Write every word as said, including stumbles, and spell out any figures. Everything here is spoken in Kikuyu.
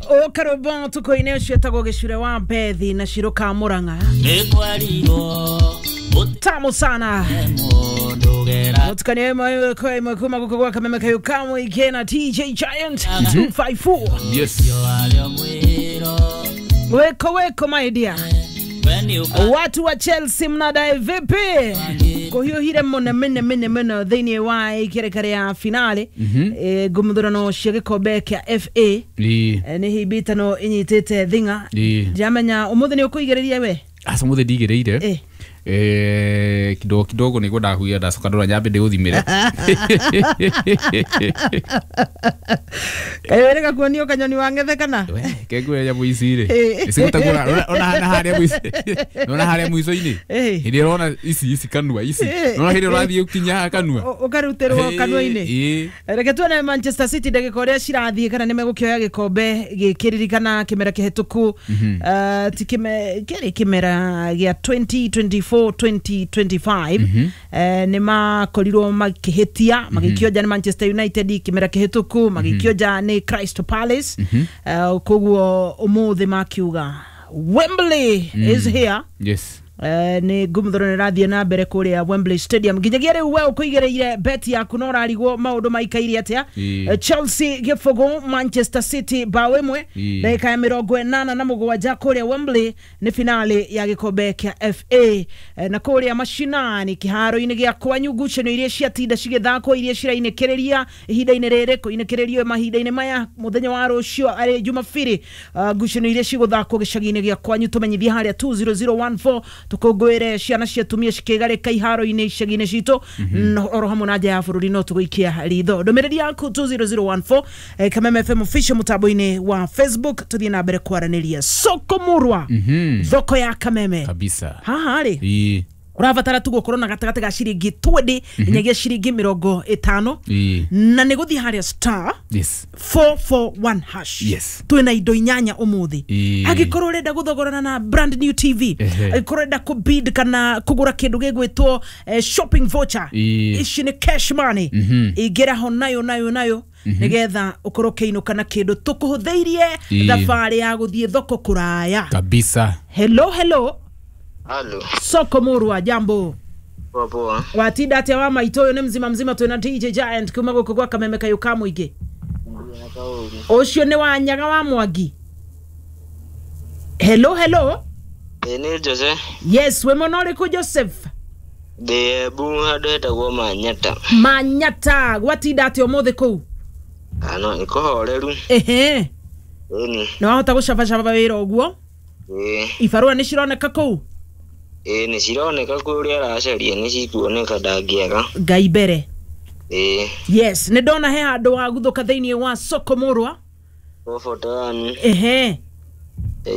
Ũkarũmbo tuko-inĩ ũcio etagwo gĩcure wa Bethi na Shiro ka Murang'a. Tamu sana. Mutukanie mwe kwa mwe kuma guko gwa Kameme kayo kamwe ikena T J Giant two five four. Yes. Weko weko my dear. Watu wa Chelsea mnadai vipi? Kuhiuhire muno mene mene mene thĩinĩ wa ikereka ya finale. Eh ngumuthurano cia gĩkombe kĩa F A. Nĩ hibitano inyitĩte thinga. Ndiramenya ũmũthĩ nĩ ũkũigĩrĩria we? Aca mũthĩ ndigĩrĩire. Eh kidogo kidogo nĩguo ndahuia ndacoka ndora nyambe ndĩgũthimĩre. Kaĩ wĩrĩga kuonio kanyoni wa ng'ethe kana? We kengwe nyamũ ici rĩ. Icigũtagũra ona na harĩa mũico. Ona harĩa mũico-inĩ. Hĩndĩ ĩrona ici ici kanua ici. Ona hĩndĩ ũrathiĩ ũkinya kanua. Ũkarutĩrwo kanua-inĩ. Reke tuone Manchester City ndagĩka ũrĩa cirathiĩ kana nĩmegũkĩoya gĩkombe gĩkĩririkana kĩmera kĩhĩtũku. Ti kĩrĩ kĩmera gĩa twenty twenty-four twenty twenty-five. Nĩ makorirwo makĩhĩtia magĩkĩonja nĩ Manchester United kĩmera kĩhĩtũku magĩkĩonja nĩ Crystal Palace. Koguo ũmũthĩ makiuga Wembley is here. Yes. Nĩ ngumuthoro nĩ rathiĩ na mbere kũrĩa Wembley Stadium nginyagia rĩu we ũkũigĩrĩire bet yaku no ũrarigwo maũndũ maikaire atĩa. Chelsea gĩbũgũ Manchester City bao ĩmwe ndagĩka ya mĩrongo ĩnana na mũgwanja kũrĩa Wembley nĩ finale ya gĩkombe kĩa F A. Na kũrĩa mashinani kĩharo-inĩ gĩa kwanyu ngucanio iria ciatinda cigĩthakwo iria cirainĩkĩrĩria ihinda-inĩ rĩrĩ kũinĩkĩrĩrio mahinda-inĩ maya mũthenya wa rũciũ arĩ Jumapili ngucanio iria cigũthakwo gĩcagi-inĩ gĩa kwanyu tũmenyithie harĩa two zero zero one four tukungũĩre ciana cia atumia cikĩgarĩka iharo-inĩ icagi-inĩ citũ oro hamwe na nja ya bũrũri no tũgũikia ritho ndũmĩrĩri yaku two zero zero one four Kameme F M official mũtambo-inĩ wa Facebook tũthiĩ na mbere kwaranĩria soko murwa thoko ya Kameme kabisa haha rĩ ũrabatara tu gũkorwo na gatagatĩ ga ciringi twenty nginyagia ciringi mĩrongo ĩtano na nĩ gũthiĩ harĩa star four four one hash. Twĩna indo inyanya ũmũthĩ angĩkorwo ũrenda gũthogorana na brand new T V angĩkorwo ũrenda kũbid kana kũgũra kĩndũ gĩgwĩtwo shopping voucher ici nĩ cash money ingĩra ho nayo nayo nayo nigetha ukorwo kĩinũka na kĩndũ tũkũhũthĩirie thabarĩ ya gũthiĩ thoko kũraya kabisa. Hello hello. Halo. Soko murwa jambo. Poa poa. Watinda atia wa maitũ ũyũ nĩ mzima mzima twĩna D J Giant kuma gũkũ gwa Kameme kayũ ka mũingĩ. Ũcio nĩ wa Nyaga wa Mwangi. Hello hello. Nĩ Jose. Yes, we mũno ũrĩkũ Joseph? Ndĩ Embu handũ hetagwo Manyata. Manyata, gwatinda atia ũmũthĩ kũu? Ano nĩ kũhoreru. Ehe. Ĩni. Nĩ wahota gũcabacaba wĩra ũguo? Ĩĩ. Ibarũa nĩ cironeka kũu? Ĩĩ nĩ cironeka kwĩ ũrĩa aracaria nĩ cikuoneka ndangĩaga. Ngai mbere. Ĩĩ. Yes, nĩ ndona he handũ waguthũka thĩinĩ wa soko murwa. Four forty one. Ehe.